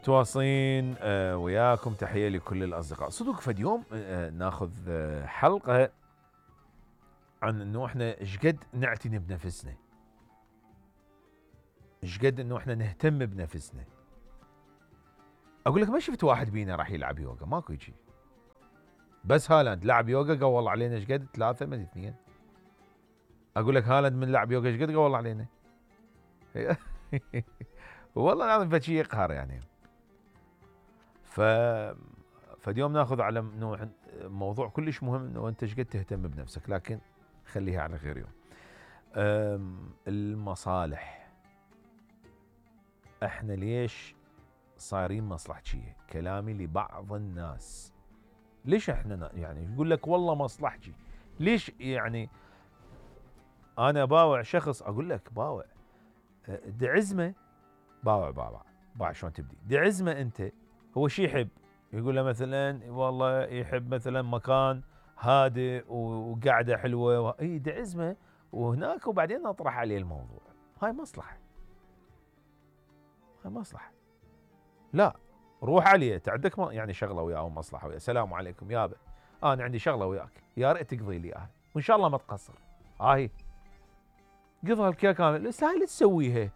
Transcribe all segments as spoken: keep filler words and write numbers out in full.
متواصلين آه وياكم، تحية لكل الأصدقاء. صدق فد يوم آه ناخذ آه حلقة عن انه احنا ايش قد نعتني بنفسنا، ايش قد انه احنا نهتم بنفسنا. اقول لك ما شفت واحد بينا راح يلعب يوغا، ماكو شيء. بس هالاند لعب يوغا قول علينا ايش قد؟ ثلاثة من اثنين. اقول لك هالاند من لعب يوغا ايش قد قول علينا؟ والله العظيم فشي يقهر يعني. ف فاليوم ناخذ على انه موضوع كلش مهم، انه انت ايش قد تهتم بنفسك، لكن خليها على غير يوم. المصالح، احنا ليش صايرين مصلحجيه؟ كلامي لبعض الناس، ليش احنا يعني يقول لك والله مصلحجي؟ ليش يعني انا باوع شخص، اقول لك باوع دعزمه، باوع باوع باوع شلون تبدي؟ دعزمه انت هو شي يحب، يقول له مثلا والله يحب مثلا مكان هادئ وقعده حلوه و... اي دعزمه وهناك، وبعدين نطرح عليه الموضوع. هاي مصلحه، هاي مصلحه. لا روح عليه، تعدك يعني شغله وياه او مصلحه وياه، السلام عليكم يابا انا عندي شغله وياك، يا ريت تقضي لي اياها وان شاء الله ما تقصر. هاي قضها الكيك كامل، بس هاي اللي تسويها.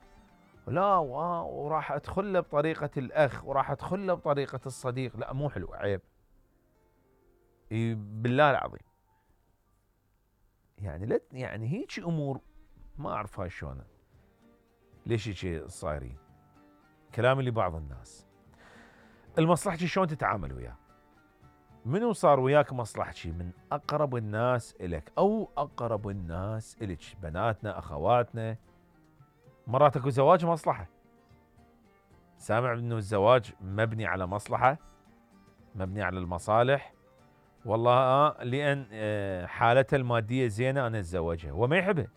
لا وراح ادخل له بطريقه الاخ وراح ادخل له بطريقه الصديق، لا مو حلو، عيب. بالله العظيم يعني لا يعني هيك امور ما اعرف هاي شلون، ليش هيك صايرين. كلامي لبعض الناس، المصلحجي شلون تتعامل وياه؟ منو صار وياك مصلحجي؟ من اقرب الناس الك او اقرب الناس الك، بناتنا اخواتنا. مرات اكو زواج مصلحه، سامع انه الزواج مبني على مصلحه، مبني على المصالح. والله آه لان آه حالتها الماديه زينه انا اتزوجها، هو ما يحبها.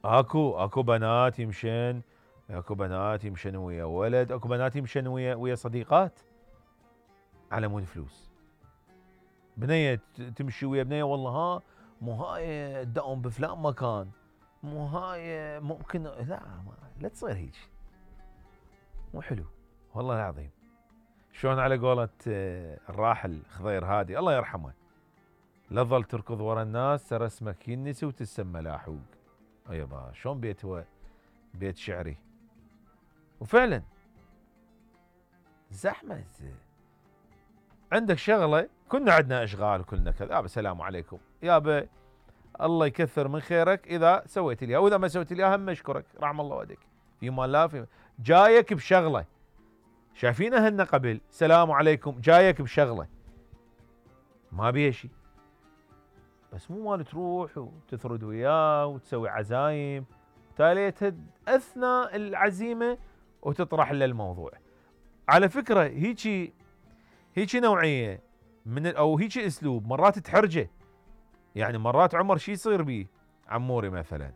اكو اكو بنات يمشن، اكو بنات يمشن ويا ولد، اكو بنات يمشن ويا ويا صديقات على مود فلوس. بنيه تمشي ويا بنيه، والله ها مو هاي تداوم بفلان مكان، مو هاي ممكن، لا ما لا تصير هيك، مو حلو والله العظيم. شلون على قولة الراحل خضير هادي الله يرحمه، لا تظل تركض ورا الناس ترى اسمك ينسي وتسمى لاحوق. ايبا شلون بيت هو بيت شعري، وفعلا زحمه. عندك شغله، كنا عندنا اشغال وكلنا كذا، يابا السلام عليكم يابا الله يكثر من خيرك اذا سويت لي، واذا ما سويت لي هم اشكرك رحم الله والديك، في مال لا في جايك بشغله. شايفين اهلنا قبل سلام عليكم، جايك بشغله ما بيها شيء، بس مو مال تروح وتثرد وياه وتسوي عزايم تاليتها اثناء العزيمه وتطرح له الموضوع. على فكره هيجي هيجي نوعيه من او هيجي اسلوب مرات تحرجه، يعني مرات عمر شي يصير بيه عموري مثلا،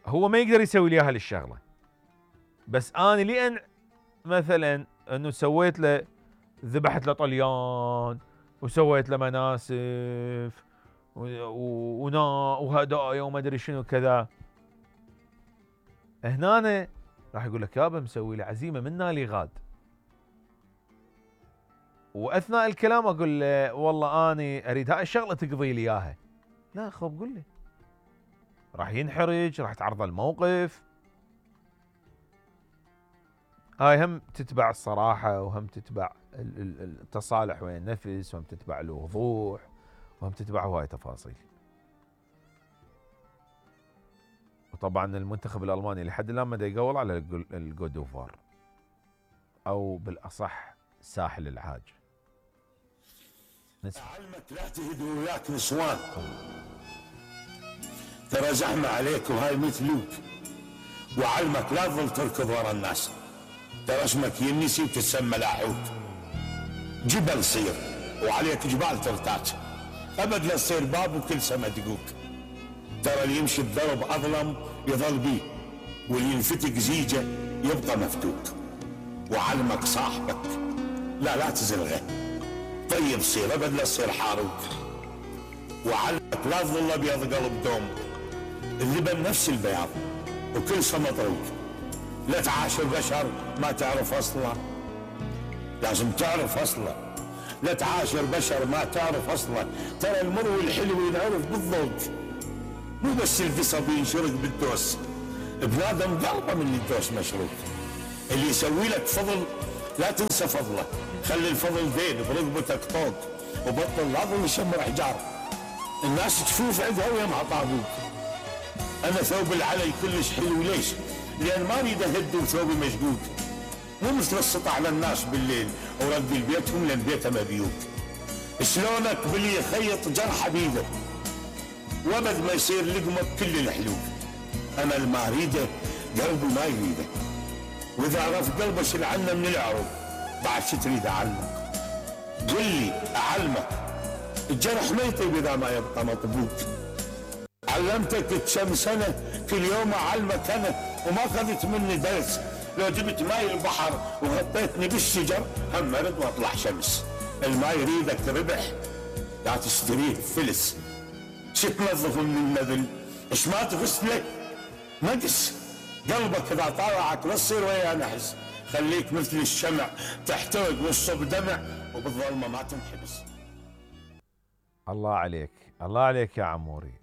هو ما يقدر يسوي لي اياها للشغله، بس انا لان مثلا انه سويت له، ذبحت له طليان وسويت له مناسف ونا وهدايا وما ادري شنو كذا، هنا راح يقول لك يابا مسوي لي عزيمه من نالي غاد، واثناء الكلام اقول له والله اني اريد هاي الشغله تقضي لي اياها. لا خب قول لي، راح ينحرج، راح تعرض الموقف. هاي هم تتبع الصراحه، وهم تتبع التصالح ويا النفس، وهم تتبع الوضوح، وهم تتبع هواي تفاصيل. وطبعا المنتخب الالماني لحد الان ما دا يقول على الجودوفار، او بالاصح ساحل العاج. اعلمك لا تهدوا وياك نسوان، ترى زحمه عليك وهاي مثلوك، وعلمك لا تظل تركض ورا الناس، ترى اسمك ينسي وتتسمى لاحوك. جبل صير وعليك جبال ترتاج، ابد لا تصير باب وكل سما دقوك، ترى اللي يمشي بضرب اظلم يظل بيه، واللي ينفتق زيجه يبقى مفتوك. وعلمك صاحبك لا لا تزلغه، طيب صير ابد لا تصير حاروك. وعلمك لا تظل ابيض قلب دوم، اللبن نفس البياض وكل سما مطروق، لا تعاشر بشر ما تعرف اصله، لازم تعرف اصله. لا تعاشر بشر ما تعرف اصله، ترى المر والحلو ينعرف بالضوج، مو بس القصب ينشرق بالدوس. بنادم قلبه من الدوس مشروق. اللي يسوي لك فضل لا تنسى فضله، خلي الفضل دين برقبتك طوق، وبطل لا ظل يشمر حجار. الناس تشوف عندها ويمها طابوق. انا ثوب العلي كلش حلو، ليش؟ لان ما اريد اهد وثوبي مشقوق. مو مثل السطع للناس بالليل ورد لبيتهم لان بيته مبيوت. شلونك باللي يخيط جرحه بيده وابد ما يصير لقمه بكل الحلوب. انا اللي ما اريده قلبي ما يريده، واذا عرف قلبه شل عنه من العرب بعد شو تريد اعلمك؟ قل لي اعلمك. الجرح ما يطيب اذا ما يبقى مطبوق. علمتك كم سنه كل يوم اعلمك انا وما اخذت مني درس. لو جبت ماي البحر وغطيتني بالشجر هم ارد واطلع شمس. الماي يريدك ربح لا تشتريه فلس. شو تنظف من المذل؟ ايش ما تغسله؟ نقص. قلبك اذا طالعك لا تصير ويا نحس. خليك مثل الشمع تحترق والصب دمع وبالظلمه ما تنحبس. الله عليك، الله عليك يا عموري.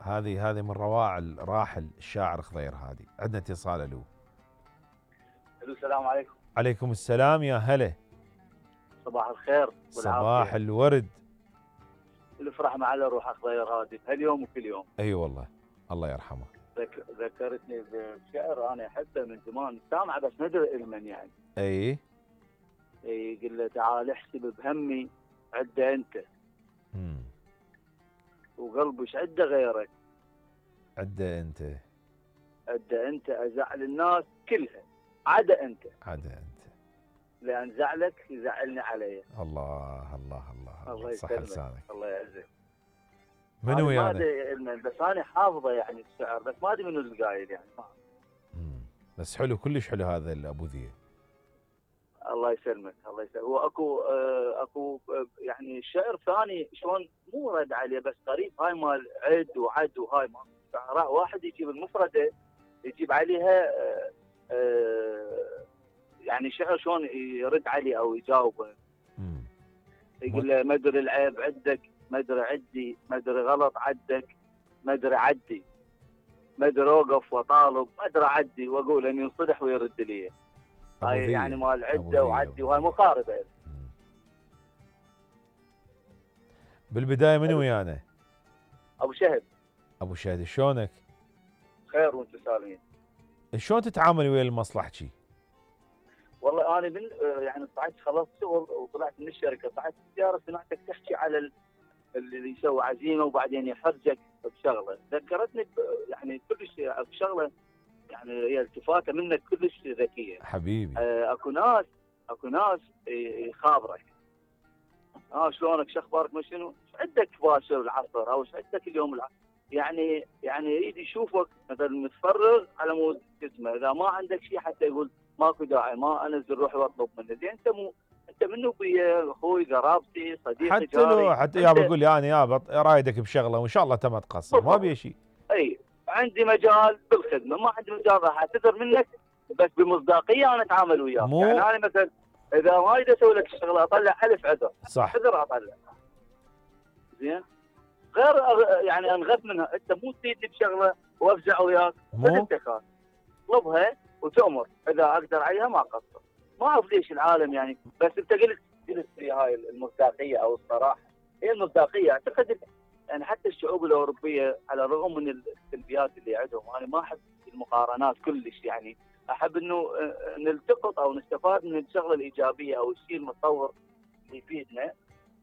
هذه هذه من روائع الراحل الشاعر خضير هادي. عندنا اتصال. الو. الو السلام عليكم. عليكم السلام يا هلا. صباح الخير والعافية. صباح الورد. الافرح مع روح خضير هادي هاليوم وكل يوم. اي أيوة والله الله يرحمه. ذك... ذكرتني بشعر انا احبه من زمان سامعه بس ما ادري من يعني. اي اي يقول له تعال احسب بهمي عده انت. امم وقلبي ايش عده غيرك؟ عده انت. عده انت ازعل الناس كلها عدا انت. عدا انت. لان زعلك يزعلني علي. الله الله الله الله صح يسلمك. لسانك. الله يعزك. منو يعني؟ ما يعني؟ ادري بس انا حافظه يعني الشعر بس ما ادري منو القايل يعني. مم. بس حلو كلش حلو هذا الابو ذيه. الله يسلمك الله يسلمك. هو اكو آه اكو آه يعني شعر ثاني شلون مو رد عليه بس قريب هاي مال عد وعد وهاي مال شعراء واحد يجيب المفرده يجيب عليها آه آه يعني شعر شلون يرد عليه او يجاوبه. امم يقول له ما ادري العيب عندك ما ادري عدي ما ادري غلط عدك ما ادري عدي ما ادري اوقف واطالب ما ادري عدي واقول ان ينصدح ويرد لي. هاي يعني مال عده وعدي وهاي مقاربه. بالبدايه منو ويانا؟ ابو شهد. ابو شهد شلونك؟ خير وانت سالمين. شلون تتعامل ويا المصلحجي؟ والله انا من يعني صعدت خلصت شغل وطلعت من الشركه صعدت السياره سمعتك تحكي على اللي يسوي عزيمه وبعدين يحرجك بشغله ذكرتني يعني كلش بشغله يعني هي التفاته منك كلش ذكيه حبيبي. آه اكو ناس اكو ناس يخابرك. اه شلونك شو اخبارك ما شنو؟ ايش عندك باشر العصر او ايش عندك اليوم العصر؟ يعني يعني يريد يشوفك مثلا متفرغ على مود اسمه اذا ما عندك شيء حتى يقول ماكو داعي ما انزل روحي واطلب منه. زين انت مو انت منو بيا اخوي قرابتي صديقي حتى جاري. لو حتى يابا يقول لي انا يابا رايدك بشغله وان شاء الله انت ما تقصر ما بيا شيء. اي عندي مجال بالخدمه ما عندي مجال راح اعتذر منك بس بمصداقيه انا اتعامل وياك. مو... يعني انا مثلا اذا ما اريد اسوي لك الشغله اطلع الف عذر. صح. عذر اطلع. زين غير يعني انغث منها انت مو تفيدني بشغله وافزع وياك. مو انت خاف اطلبها وتؤمر اذا اقدر عليها ما اقصر. ما اعرف ليش العالم يعني بس انت قلت قلت في هاي المصداقيه او الصراحه. هي المصداقيه اعتقد يعني حتى الشعوب الاوروبيه على الرغم من السلبيات اللي عندهم انا ما احب المقارنات كلش يعني احب انه نلتقط او نستفاد من الشغله الايجابيه او الشيء المتطور اللي يفيدنا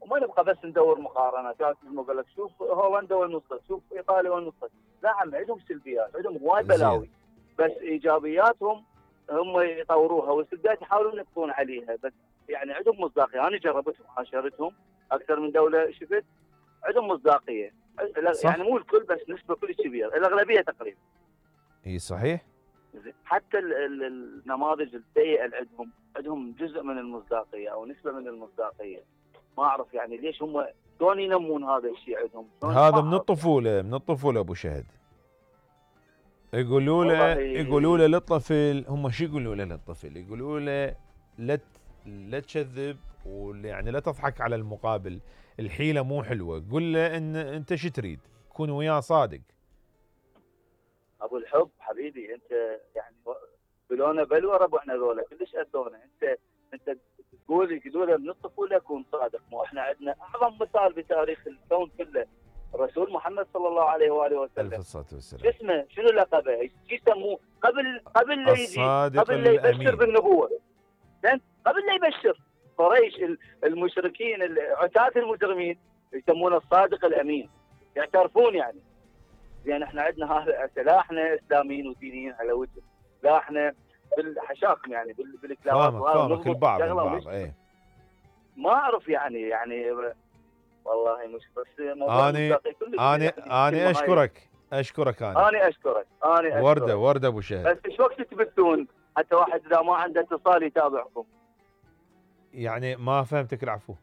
وما نبقى بس ندور مقارنات. يقول لك شوف هولندا وين وصلت شوف ايطاليا وين وصلت. لا عم عندهم سلبيات عندهم هواي بلاوي بس ايجابياتهم هم يطوروها والسلبيات يحاولون يقضون عليها بس يعني عندهم مصداقيه. انا جربتهم عاشرتهم اكثر من دوله شفت عندهم مصداقيه يعني مو الكل بس نسبه كلش كبيره الاغلبيه تقريبا. اي صحيح. حتى ال ال النماذج السيئه اللي عندهم عندهم جزء من المصداقيه او نسبه من المصداقيه. ما اعرف يعني ليش هم شلون ينمون هذا الشيء عندهم. هذا من الطفوله من الطفوله ابو شهد. يقولوا له والله يقولوا له للطفل، هم شو يقولوا له للطفل؟ يقولوا له لا ت- لا تكذب، ويعني لا تضحك على المقابل، الحيلة مو حلوة، قل له ان انت شو تريد، كون وياه صادق. ابو الحب حبيبي انت يعني بلونا بلوى ربعنا ذولا كلش اذونا. انت انت تقول يقولوا من الطفوله كون صادق. مو احنا عندنا اعظم مثال بتاريخ الكون كله الرسول محمد صلى الله عليه واله ألف وسلم. الصلاة شو والسلام. اسمه؟ شنو لقبه؟ شو يسموه؟ قبل قبل لا يجي الصادق قبل لا يبشر الأمين. بالنبوه. زين؟ قبل لا يبشر قريش المشركين عتاة المجرمين يسمونه الصادق الامين، يعترفون يعني. لان احنا عندنا هذا لا احنا اسلاميين ودينيين على وجه، لا احنا بالحشاكم يعني بال- بالكلاوات فاهمك وهذا فاهمك نضبط البعض الشغلة البعض ونشتغل. ايه. ما اعرف يعني يعني والله مش بس موضوع اني المصداقية كلش اني يعني اني كلمة هاي. اشكرك اشكرك انا. انا اشكرك انا اشكرك ورده ورده ابو شهد. بس ايش وقت تبثون حتى واحد اذا ما عنده اتصال يتابعكم؟ يعني ما فهمتك العفو.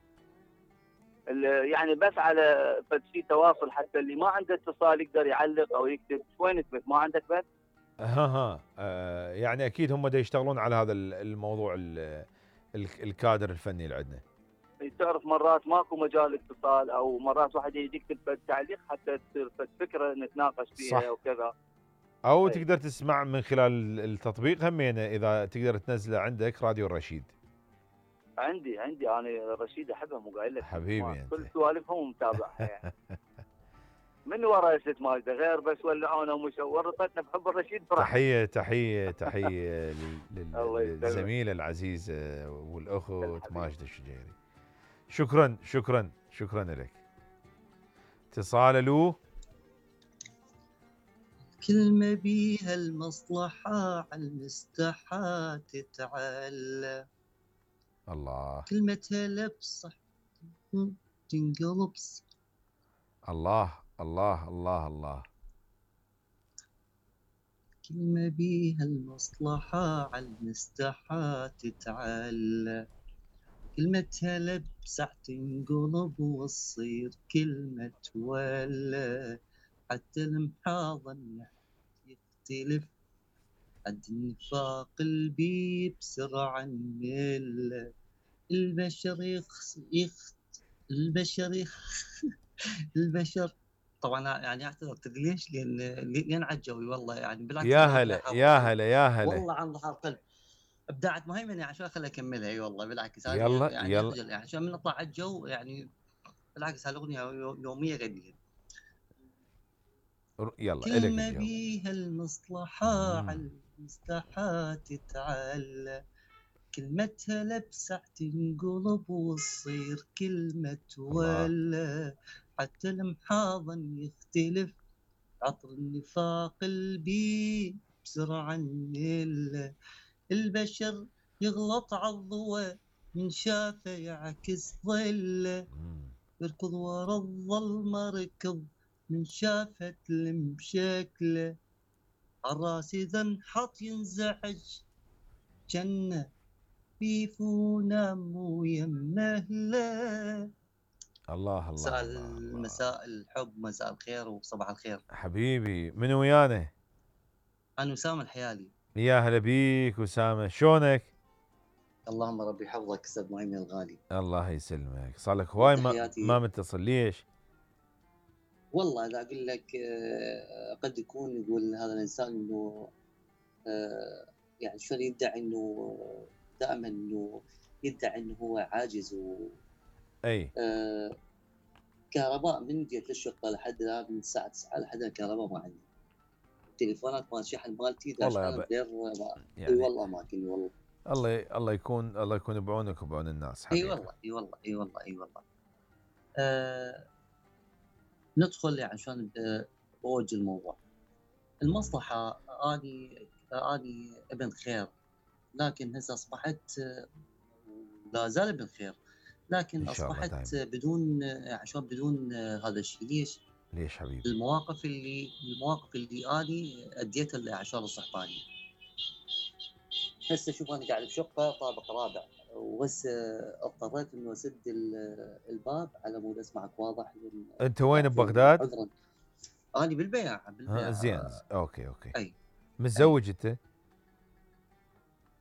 ال- يعني بس على بس في تواصل حتى اللي ما عنده اتصال يقدر يعلق او يكتب. وين تبث؟ ما عندك بث؟ ها ها آه يعني اكيد هم دا يشتغلون على هذا ال- الموضوع ال- ال- الكادر الفني اللي عندنا. تعرف مرات ماكو مجال اتصال او مرات واحد يجي يكتب تعليق حتى تصير فكره نتناقش فيها صح. وكذا. او أي. تقدر تسمع من خلال التطبيق همينه اذا تقدر تنزله عندك راديو الرشيد. عندي عندي انا رشيد احبها مو قايل لك حبيبي ما- انت. كل سوالفهم متابعها يعني. من ورا ست ماجده غير بس ولعونا ومش ورطتنا بحب الرشيد براحتك. تحيه تحيه تحيه لل- لل- الله يسلمك. للزميله العزيزه والاخت الحبيب. ماجده الشجيري. شكرا شكرا شكرا لك. اتصال له. كلمة بيها المصلحة عالمستحى تتعلى، الله كلمتها لبصح تنقلب ص- الله الله الله الله. كلمة بيها المصلحة عالمستحى تتعلى، كلمتها لبسح تنقلب وتصير كلمة ولا، حتى المحاضن يختلف عد النفاق البي بسرعة نمل، البشر يخ يخ البشر يخ البشر طبعا يعني اعتذر تدري ليش؟ لان لين عجوي والله يعني بالعكس. يا هلا يا هلا يا هلا والله عن ظهر قلب ابدعت مهيمن يعني عشان خليها اكملها. اي والله بالعكس يلا يعني يلا أخجل يعني عشان من نطلع على الجو يعني بالعكس هالاغنيه يوميه غنية. يلا كلمة الك بيها المصلحة مم. عالمستحى تتعلى، كلمتها لبسح تنقلب وتصير كلمة ولا، حتى المحاضن يختلف عطر النفاق البي بسرعة نيل، البشر يغلط عالضوى من شافه يعكس ظله، مم. يركض ورا الظلمة ركض من شافت المشكلة، عالراس إذا انحط ينزعج جنة بيفونا مو يمهله. الله الله مساء الله الله. مساء الحب مساء الخير وصباح الخير. حبيبي من ويانا؟ أنا أسامة الحيالي. يا هلا بيك أسامة، شلونك؟ اللهم ربي يحفظك أستاذ مهيمن الغالي. الله يسلمك، صار لك هواي ما, تحياتي. ما متصل ليش؟ والله إذا أقول لك آه، قد يكون يقول هذا الإنسان إنه آه، يعني شلون يدعي إنه دائما إنه يدعي إنه هو عاجز و اي آه، كهرباء من جيت للشقة لحد الآن من الساعة تسعة لحد الآن كهرباء ما عندي. التليفونات مال شحن مالتي والله داشحن يابا. غير ما يعني اي والله ما كني والله. الله الله يكون الله يكون بعونك وبعون الناس اي حبيبي. والله اي والله اي والله اي والله. آه ندخل يعني عشان آه اوجه الموضوع. المصلحة اني اني ابن خير، لكن هسه اصبحت آه، لا زال ابن خير، لكن إن شاء الله اصبحت دايماً. بدون آه، عشان بدون آه، هذا الشيء. ليش؟ ليش حبيبي؟ المواقف اللي المواقف اللي اني اديتها لاعشار الصحباني. هسه شوف انا قاعد بشقه طابق رابع، وهسه اضطريت انه اسد ال- الباب على مود اسمعك واضح. انت وين ببغداد؟ عذرا. انا بالبياع بالبياع. ها زين اوكي اوكي. اي متزوج انت؟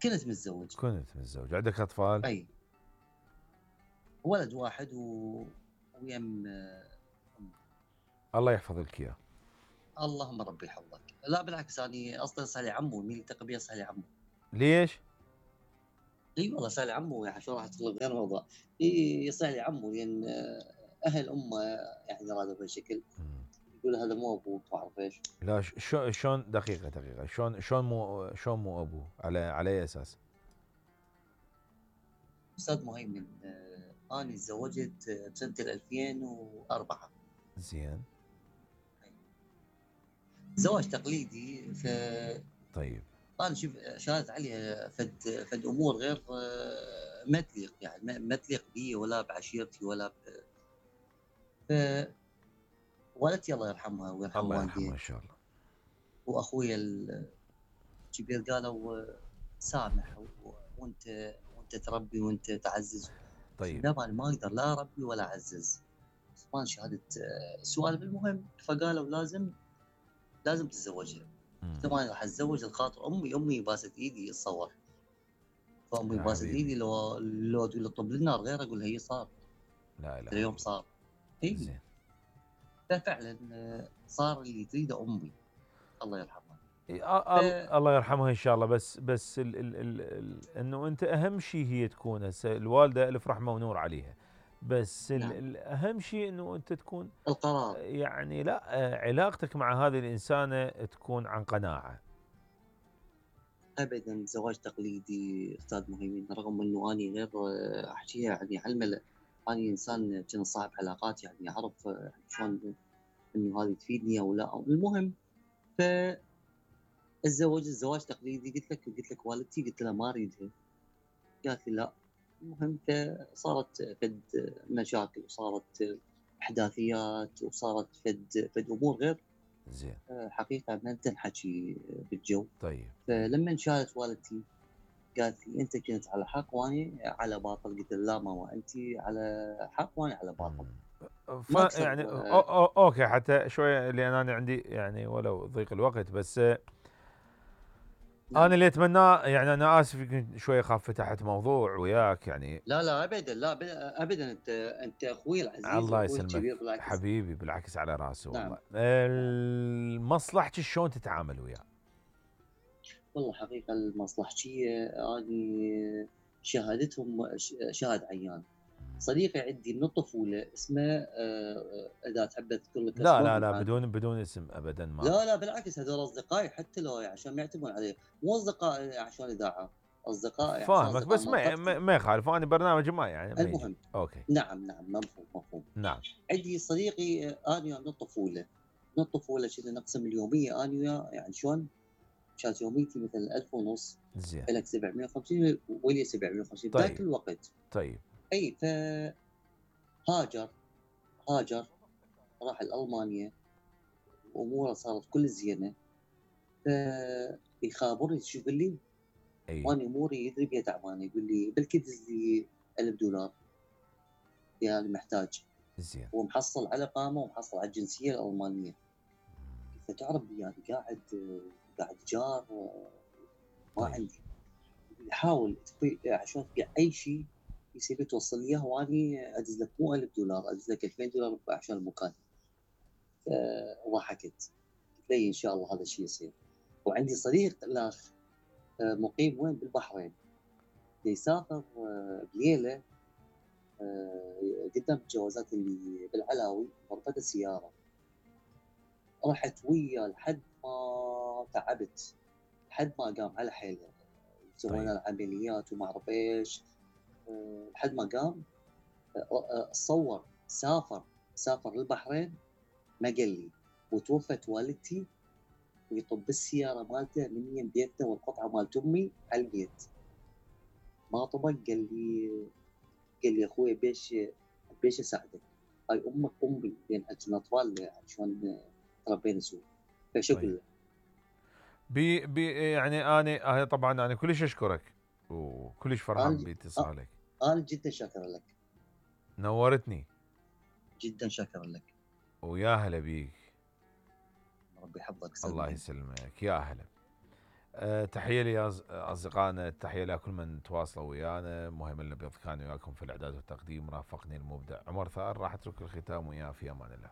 كنت متزوج. كنت متزوج. عندك اطفال؟ اي ولد واحد و... ويم. الله يحفظ لك اياه. اللهم ربي يحفظك. لا بالعكس انا اصلا صار لي عمو، مين التقي بيه صار لي عمو. ليش؟ اي والله صار لي عمو، يعني شو راح تطلب غير موضوع. اي صار لي عمو لان اهل امه يعني رادوا بهالشكل، يقول هذا مو ابوك ما اعرف ايش. لا شلون شلون دقيقة دقيقة شلون شلون مو شلون مو ابوه؟ على على اي اساس؟ استاذ مهيمن آه انا تزوجت بسنة ألفين وأربعة. زين. زواج تقليدي. ف طيب. انا شوف شاهدت عليها فد فد امور غير ما تليق، يعني ما تليق بي ولا بعشيرتي ولا ب... ف والدتي الله يرحمها ويرحم الله والدي يرحمه ان شاء الله. واخويا الكبير قالوا سامح و... وانت وانت تربي وانت تعزز. طيب. لا انا ما اقدر لا اربي ولا اعزز. ما شهاده السؤال المهم، فقالوا لازم لازم تتزوجها. طبعا راح اتزوج الخاطر امي امي باست ايدي اتصور. فامي باست ايدي لو لو تقول طب للنار غير اقول هي صار. لا لا اليوم صار. اي زين. ففعلا صار اللي تريده امي الله يرحمها. ف... الله يرحمها ان شاء الله. بس بس ال ال ال ال انه انت اهم شيء هي تكون هسه الوالده الف رحمه ونور عليها، بس نعم. الاهم شيء انه انت تكون القرار، يعني لا علاقتك مع هذه الانسانه تكون عن قناعه. ابدا زواج تقليدي استاذ مهيمن، رغم انه اني غير احكيها يعني على الملأ، اني انسان كنت صاحب علاقات يعني اعرف شلون انه هذه تفيدني او لا. المهم ف الزواج الزواج تقليدي قلت لك قلت لك والدتي قلت لها ما اريدها، قالت لي لا. المهم فصارت فد مشاكل وصارت احداثيات وصارت فد فد امور غير زين حقيقه ما تنحكي بالجو. طيب. فلما شالت والدتي قالت لي انت كنت على حق واني على باطل. قلت لا ماما انت على حق واني على باطل. ف يعني أو أو اوكي حتى شويه لان انا عندي يعني ولو ضيق الوقت بس نعم. انا اللي اتمناه يعني انا اسف يمكن شويه خاف فتحت موضوع وياك يعني. لا لا ابدا لا ابدا انت انت اخوي العزيز. الله يسلمك حبيبي بالعكس على راسي والله. نعم. مصلحتك شلون تتعامل وياه؟ والله حقيقه المصلحتيه اني شهادتهم شاهد عيان. صديقي عندي من الطفوله اسمه اذا تحب اذكر لك لا لا لا بدون بدون اسم ابدا ما. لا لا بالعكس هذول اصدقائي حتى لو عشان ما يعتمون علي، مو اصدقاء عشان اذاعه، اصدقائي فاهمك بس ما ما يخالف انا برنامج ما يعني المهم اوكي نعم نعم مفهوم مفهوم. نعم عندي صديقي انا من الطفوله من الطفوله كنا نقسم اليوميه انا وياه يعني شلون كانت يوميتي مثلا ألف ونص زين لك سبعمية وخمسين ولي سبعمية وخمسين طيب. ذاك الوقت. طيب اي ف هاجر هاجر راح لألمانيا اموره صارت كل زينه. فيخابرني شو يقول لي؟ اي وانا اموري يدري بها تعبانه. يقول لي بلكي دز لي ألف دولار يعني محتاج. زين ومحصل على قامه ومحصل على الجنسيه الالمانيه. فتعرف يعني قاعد قاعد جار ما طيب. عندي. يحاول عشان تبيع اي شيء يصير توصل لي اياه واني ادز لك مو ألف دولار ادز لك ألفين دولار عشان المكان. وضحكت قلت لي ان شاء الله هذا الشيء يصير. وعندي صديق الاخ مقيم وين بالبحرين يسافر بليله قدام الجوازات اللي بالعلاوي ورفد السياره. رحت وياه لحد ما تعبت لحد ما قام على حيله. سوينا العمليات وما اعرف ايش لحد ما قام. صور سافر سافر للبحرين ما قال لي. وتوفت والدتي ويطب السياره مالته من يم بيتنا والقطعه مالت امي على البيت. ما طبق قال لي قال لي اخوي بيش بيش اساعدك هاي امك امي بين اجل اطفال عشان تربينا سوا. فشو اقول له؟ بي بي يعني انا طبعا انا كلش اشكرك وكلش فرحان باتصالك. انا جدا شاكر لك. نورتني. جدا شاكر لك. ويا هلا بيك. ربي يحفظك. الله يسلمك يا هلا. أه تحيه لي اصدقائنا، تحيه لكل من تواصلوا ويانا. مهم الابيض كان وياكم في الاعداد والتقديم، رافقني المبدع عمر ثار. راح اترك الختام وياه في امان الله.